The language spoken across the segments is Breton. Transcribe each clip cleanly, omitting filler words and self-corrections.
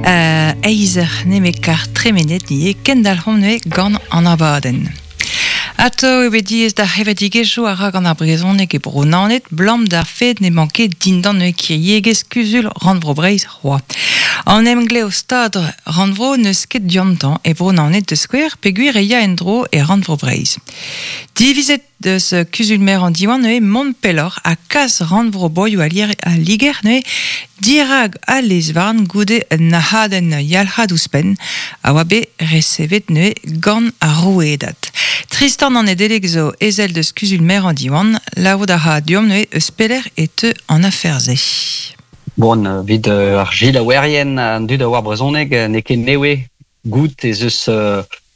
Eizh eur nemet kar tremenet ivez kendalc'homp neuze gant an abadenn. Atao eo bet diaes d'ar c'hevredigezhioù a ra gant ar brezhoneg e Bro-Naoned 'blam d'ar fed n'emañ ket dindan neuze kiriegezh Kuzul Rannvro Breizh c'hoazh. An emglev Stad Rannvro n'eus ket diontañ e Bro-Naoned da skouer peogwir e ya en-dro e Rannvro Breizh. Divizet deus kuzul-merañ Diwan neuze mont pelloc'h ha kas rannvro broioù al Liger neuze dirak al lez-varn goude un nac'hadenn yalc'had ouzhpenn a oa bet resevet neuze gant ar rouedad. Tristan an Nedeleg zo ezel deus kuzul-merañ Diwan, lavarout a ra deomp neuze eus pelec'h e teu an afer-se. Bon, evit ar selaouerien, an dud a oar brezhoneg, n'eo ket nevez goût ez eus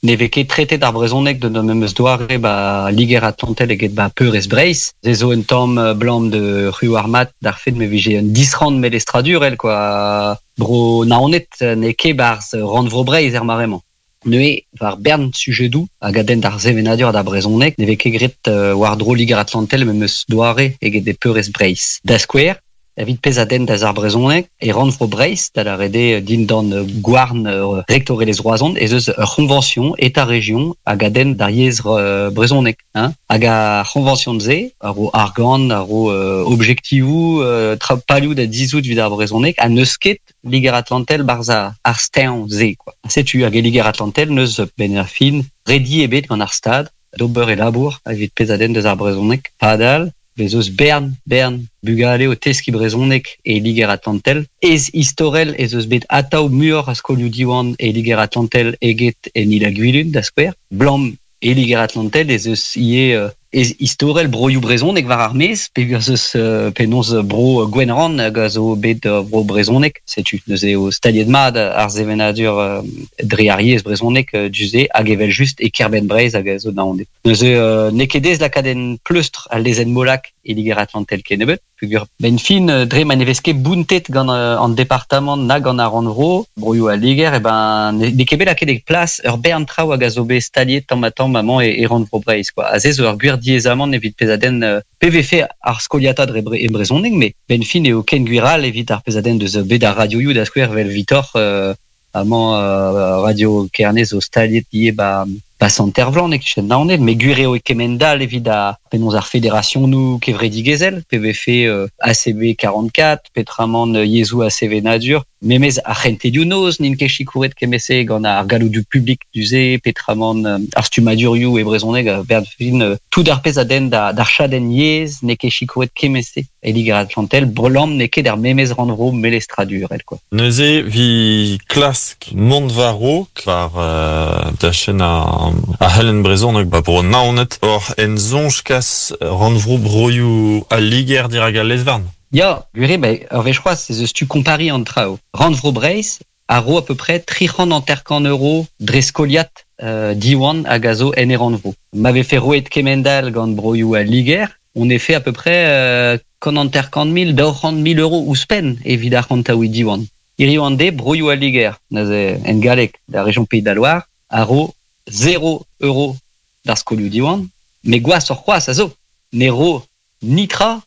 ne vez ket tretet ar brezhoneg d'un memes doare ba Liger-Atlantel eget ba Peurrest Breizh. Se zo un tamm 'blam de Rue ar Mat d'ar fed ma vije un disrann melestradurel quoi. Bro Naoned n'eo ket 'barzh rannvro Breizh er mare-mañ. Neuze, war bern sujedoù hag a denn d'ar sevenadur ha d'ar brezhoneg ne vez ket graet war-dro Liger-Atlantel memes doare eget e Peurrest Breizh. Da skouer, Evit pezh a denn da ar brezhoneg e rannvro Breizh, da lâret eo dindan gouarn rektorelezh Roazhon, ez eus ur c'hoñvañsion État-Région hag a denn d'ar yezh brezhoneg. Hein. Hag ar c'hoñvañsion-se a ro argant, a ro objektivoù, palioù da dizhout evit ar brezhoneg ha n'eus ket Liger-Atlantel 'barzh ar steuñv-se. Quoi. Setu hag e Liger-Atlantel n'eus benn ar fin redi ebet gant ar Stad d'ober e labour evit pezh a denn deus ar brezhoneg. Padal, Bez eus bern, bern bugale o teskiñ brezhoneg e Liger-Atlantel. Ez istorel ez eus bet atav muioc'h a skolioù Diwan e Liger-Atlantel eget en Il-ha-Gwilun, da skouer. Blam e Liger-Atlantel ez eus ivez ez istorel broioù brezhonek war ar maez, peogwir ez eus penaos bro Gwenrann hag a zo bet bro brezhonek. Setu neuze eo staliet mat ar sevenadur dre ar yezh brezhonek du-se hag evel-just e kêr-benn Breizh hag a zo Naoned. Neuze n'eo ket aes lakaat en pleustr al lezenn Molac e Liger-Atlantel kennebeut, peogwir benn fin dre ma ne vez ket bountet gant an departamant na gant ar rannvro, broioù al Liger, eh ben n'eo ket bet lakaet e plas ur bern traoù hag a zo bet staliet tamm-ha-tamm amañ e rannvro Breizh quoi. Ha se zo ur gwir diaezamant evit pezh a denn pe vefe ar skoliata dre e brezhoneg, met benn fin eo ken gwir all evit ar pezh a denn deus bed ar radioioù da skouer evel Vitoc'h Amañ Radio Kerne zo staliet ivez 'ba 'ba Sant-Ervlan e-kichen Naoned, met gwir eo e kemend-all evit ar penaos ar federasionoù kevredigezhel, pe vefe ACB 44, petramant yezhoù ha sevenadur, memes ar c'hentelioù-noz n'int ket sikouret kement-se gant ar galloudoù publik du-se, petramant ar stummadurioù e brezhoneg a-benn tout ar pezh a denn d'ar chadenn yezh n'eo ket sikouret kement-se. E Liger-Atlantel, Brelam n'eo ket er memes rannvro melestradurel quoi. Neuze 'vi klask mont war-raok war dachenn ar c'helenn brezhoneg 'ba Bro Naoned oc'h en soñj kas rannvro broioù al Liger dirak al lez-varn. Ya, gwir eo, ben, ur wech c'hoazh ez eus tu kompariñ an traoù. Rannvro Breizh a ro à peu près 350 euros dre skoliad Diwan hag a zo en e rannvro. Ma vefe roet kement-all gant broioù al Liger, on efe à peu près 150 000, 200 000 euros ouzhpenn evit arc'hantaouiñ Diwan. Hiziv an deiz, broioù al Liger, neuze en galleg da région Pays de la Loire, a ro 0 euro d'ar skolioù Diwan, met gwashoc'h c'hoazh a zo, ne ro nitra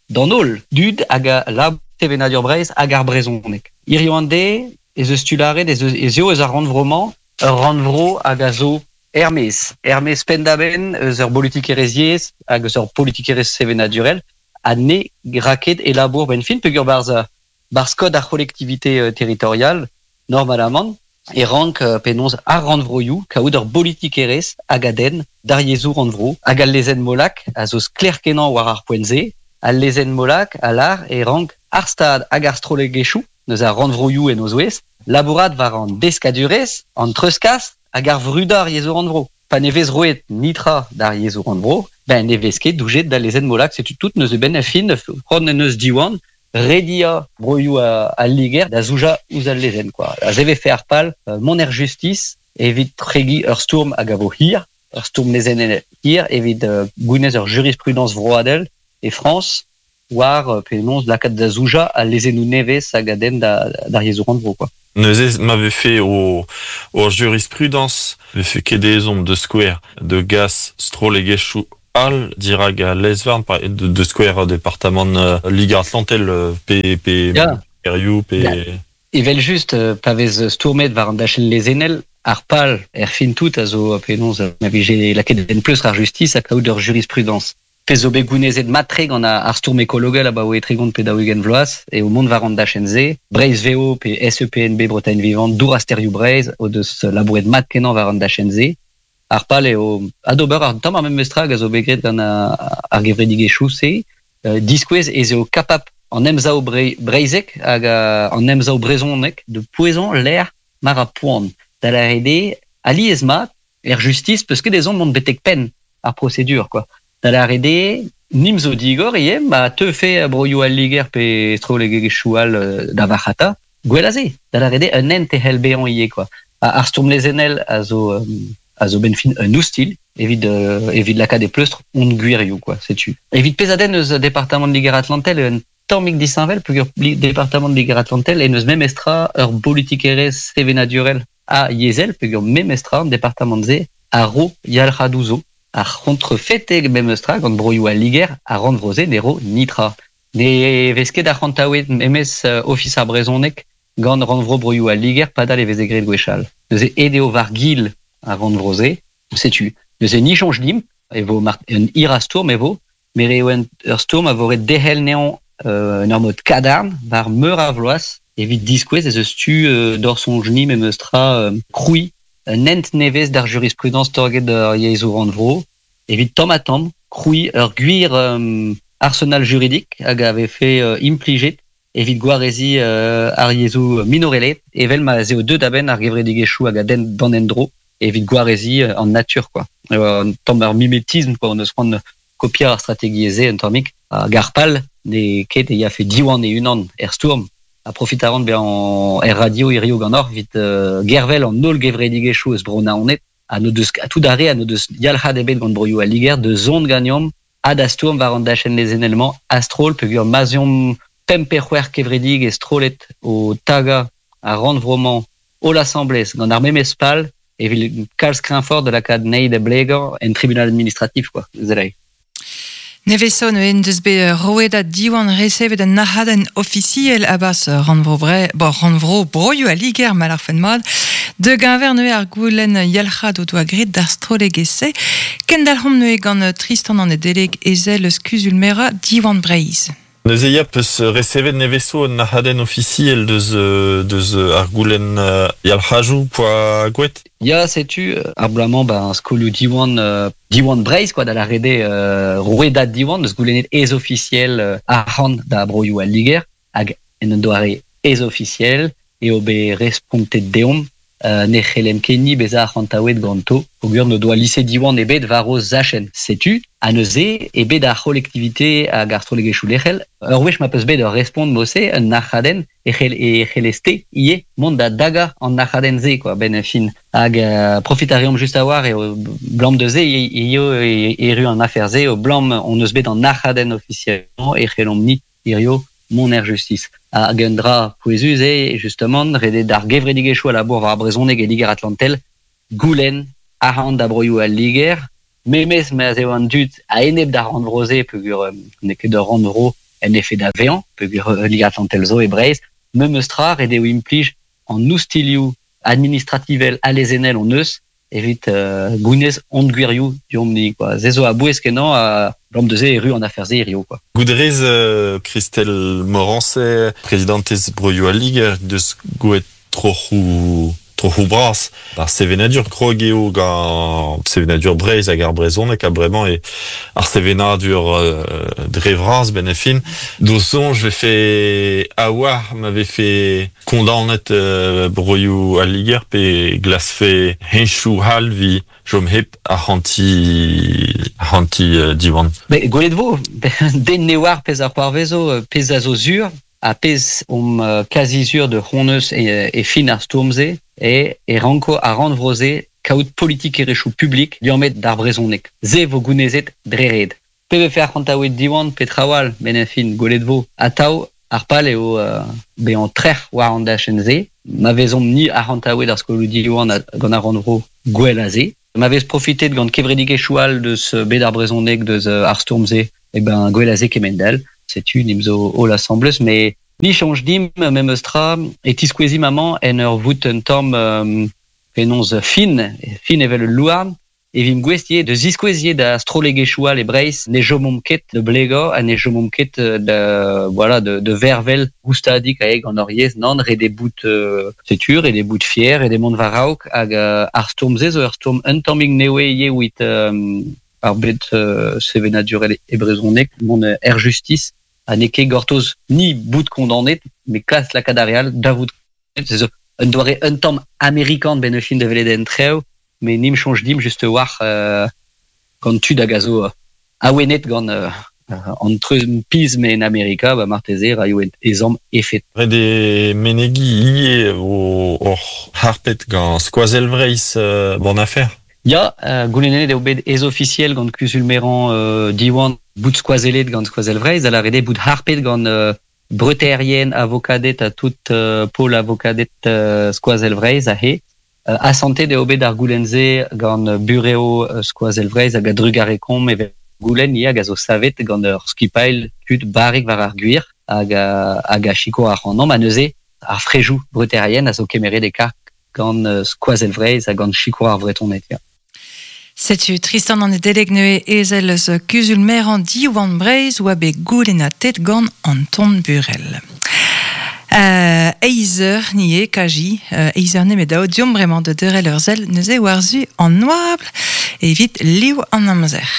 d'an holl dud hag a labour sevenadur Breizh hag ar brezhoneg. Hiziv an deiz ez eus tu lâret ez, eus, ez eo eus ar rannvro-mañ ur rannvro hag a zo er-maez, er-maez penn-da-benn eus ur bolitikerezh yezh hag eus ur politikerezh sevenadurel ha ne ra ket e labour benn fin peogwir barzh barzh kod ar c'holektivite territorial normalamant e rank penaos ar rannvroioù kaout ur bolitikerezh hag a denn d'ar yezhoù rannvro hag al lezenn Molac a zo sklaer-kenañ war ar poent-se. Al lezenn Molac a lâr e rank ar Stad hag ar strollegezhioù, neuze ar rannvroioù en o zouez, labourat war an deskadurezh, an treuzkas hag ar vrudañ ar yezhoù rannvro. Pa ne vez roet nitra d'ar yezhoù rannvro, ben ne vez ket doujet d'al lezenn Molac, setu tout neuze benn ar fin, c'hoant en deus Diwan rediañ broioù al Liger da zoujañ ouzh al lezenn quoi. Aze vefe ar pal mont er justis evit kregiñ ur stourm hag a vo hir, ur stourm lezennel hir evit gounez ur jurisprudence vroadel e Frañs war penaos lakaat da zoujañ al lezennoù nevez hag a denn d'ar yezhoù rannvro quoi. Neuze ma vefe o o jurisprudence vefe ket ezhomm da skouer da gas strollegezhioù all dirak al lez-varn da skouer departamant Liger-Atlantel pe pe Ya. Kerioù pe Ya. Evel just, pa vez stourmet war an dachenn lezenel, ar pal er fin tout a zo penaos ma vije lakaet en pleustr ar justice ha kaout ur jurisprudence. Pezh zo bet gounezet mat-tre gant ar stourm ekologel abaoe 30 pe 40 vloaz eo mont war an dachenn-se. Breizh VO pe SEPNB Bretagne Vivante, Dour ha Stêrioù Breizh o deus labouret mat-kenañ war an dachenn-se. Ar pal eo adober ar tamm ar memes tra hag a zo bet graet gant ar gevredigezhioù-se, diskouez ez eo kapabl an emsav breizhek hag an emsav brezhonek da pouezañ lec'h ma ra poan. Da lâret eo, alies-mat, er justis peus ket ezhomm mont betek penn ar prosedur quoi. Da lâret eo, nim zo digor ivez, ma teufe broioù al Liger pe strollegezhioù all da varc'hata, gwell a se. Da lâret eo, un hent e c'hell bezañ ivez quoi. Ar stourm lezennel a zo a zo benn fin un oustilh evit evit lakaat e pleustr hon gwirioù quoi, setu. Evit pezh a denn eus departamant Liger-Atlantel un tammig disheñvel peogwir departamant Liger-Atlantel en deus memestra ur bolitikerezh sevenadurel ha yezhel peogwir memestra an departamant-se a ro yalc'hadoù zo. Ar c'hontrefed memestra gant broioù al Liger ar rannvro-se ne ro nitra. Ne vez ket arc'hantaouet memes Ofis ar brezhoneg gant rannvro broioù al Liger padal e veze graet gwechall. Neuze aet eo war-gil ar rannvro-se. Setu. Neuze ni soñj dimp e vo un hir a stourm e vo, met eo ur stourm a vo ret derc'hel anezhañ en ur mod kadarn war meur a vloaz evit diskouez ez eus tu d'hor soñj-ni memes tra krouiñ un hent nevez d'ar jurisprudence torget ar yezhoù rannvro evit tamm-ha-tamm krouiñ ur gwir arsenal juridik hag a vefe implijet evit gwareziñ ar yezhoù minorelaet evel ma ez eo deuet a-benn ar gevredigezhioù hag a denn d'an endro evit gwareziñ an natur quoi. Un tamm ar mimetism quoi, on eus c'hoant kopiañ ar strategiezh-se un tammig. Hag ar pal n'eo ket e yafe Diwan e-unan er stourm ha profit a ran bezañ er radio hiziv ganeoc'h evit gervel an holl gevredigezhioù eus Bro-Naoned ha n'o deus tout ar re ha n'o deus yalc'had ebet gant broioù al Liger da zont ganeomp ha da stourm war an dachenn lezennel-mañ a-stroll peogwir ma'z eomp pemp pe c'hwec'h kevredigezh strollet o tagañ ar rannvro-mañ holl asambles gant ar memes pal evit kalz kreñfoc'h da lakaat anezhi da blegañ en tribunal administratif quoi. Zelai. Neveson en deus bet roet Diwan resevet un nac'hadenn ofisiel a-barzh rannvro Bre bon, rannvro Broioù al Liger ma lârfen mat. De geñver neuze ar goulenn yalc'had o doa graet d'ar strollegezh-se. Kendalc'homp neuze gant Tristan an Nedeleg ezel eus kuzul-merañ Diwan Breizh. Neuze ya peus resevet nevezo un nac'hadenn ofisiel deus deus ar goulenn yalc'hajoù poa gouet? Ya, setu ar bloaz-mañ ben skolioù Diwan Diwan Breizh quoi da lâret eo rouedad Diwan deus goulennet ez-ofisiel arc'hant da broioù al Liger hag en un doare ez-ofisiel eo bet respontet deomp ne c'hellent ket ni bezañ arc'hantaouet ganto peogwir n'o doa lise Diwan ebet war o zachenn. Setu, ha neuze eo bet ar c'holektivite hag ar strollegezhioù lec'hel. Ur wech ma peus bet ur respont mod-se, un nac'hadenn, e c'hell e c'hellez-te ivez mont da dagañ an nac'hadenn-se quoi, benn ar fin. Hag profit a reomp just a-walc'h eo 'blam da se eo erru an afer-se, eo 'blam hon eus bet an nac'hadenn ofisiel-mañ e c'hellomp-ni hirio mont er justis. Hag un dra pouezus eo, justement, ret eo d'ar gevredigezhioù a labour war ar brezhoneg e Liger-Atlantel goulenn arc'hant da broioù al Liger, memes ma'z eo an dud a-enep d'ar rannvro-se peogwir n'eo ket ur rannvro en efe da vezañ, peogwir Liger-Atlantel zo e Breizh, memes tra ret eo implij an oustilhoù administrativel ha lezennel hon eus evit gounez hon gwirioù deomp-ni quoi. Se zo a-bouez-kenañ ha 'blam da se erru an afer-se hirio quoi. Gouderez Christelle Morancet, prezidantez Broioù al Liger, deus gouet troc'hoù troc'hoù bras. Ar sevenadur krog eo gant sevenadur Breizh hag ar brezhoneg ha bremañ eo ar sevenadur dre vras benn ar fin. D'ho soñj 'vefe a-walc'h ma vefe kondaonet broioù al Liger pe glaskfe heñchoù all 'vit chom hep arc'hantiñ arc'hantiñ Diwan? Bet gwelet 'vo, den ne oar pezh a c'hoarvezo, pezh a zo sur ha pezh omp kazi sur da c'honeus e fin ar stourm-se eo e ranko ar rannvro-se kaout politikerezhioù publik liammet d'ar brezhoneg. Se 'vo gounezet dre ret. Pe vefe arc'hantaouet Diwan pe traoù all, met en fin, gwelet 'vo. Atav, ar pal eo bezañ trec'h war an dachenn-se. Ma vezomp-ni arc'hantaouet ar skolioù Diwan gant ar rannvro, gwell a se. Ma vez profitet gant kevredigezhioù all deus bed ar brezhoneg, deus ar stourm-se, eh ben gwell a se kement-all. Setu, nimp zo holl asambles, met Ni soñj dimp memes tra e tiskouezimp amañ en ur vout un tamm penaos fin, fin evel ul louarn, e vimp gouest ivez da ziskouez ivez da strollegezhioù all e Breizh ne chomomp ket da blegañ ha ne chomomp ket da voilà da vervel goustadik aet gant hor yezh nann ret eo bout setu ret eo bout fier ret eo mont war-raok hag ar stourm-se zo ur stourm un tammig nevez ivez evit ar bed sevenadurel e brezhoneg mont er justis Ha n'eo ket gortoz ni bout kondaonet, met klask lakaat ar re all da vout Se zo un doare un tamm amerikan benn fin da welet en trev, met nim soñj dimp just a-walc'h gant tud hag a zo awenet gant an trumpism en Amerika, ba marteze raio ezhomm efed. Ret eo menegiñ ivez oc'h harpet gant Skoazell Vreizh bon afer. Ya, goulennet eo bet ez-ofisiel gant kuzul-merañ Diwan bout skoazellet gant Skoazell Vreizh, da lâret eo bout harpet gant breutaerien, avokaded ha tout pol avokaded Skoazell Vreizh aze. Asantet eo bet ar goulenn-se gant burev Skoazell Vreizh hag a-drugarez-komp evel goulenn ivez hag a zo savet gant ur skipailh tud barrek war ar gwir hag hag a sikour ac'hanomp ha neuze ar frejoù breutaerien a zo kemeret e karg gant Skoazell Vreizh ha gant sikour ar Vretoned ya. Setu Tristan an Nedeleg neuze ezel eus kuzul-merañ Diwan Breizh oa bet goulennatet gant Anton Burel. Eizh eur ni eo kaji, eizh eur nemet daou deomp bremañ da deurel ur sell neuze war-zu an oabl evit liv an amzer.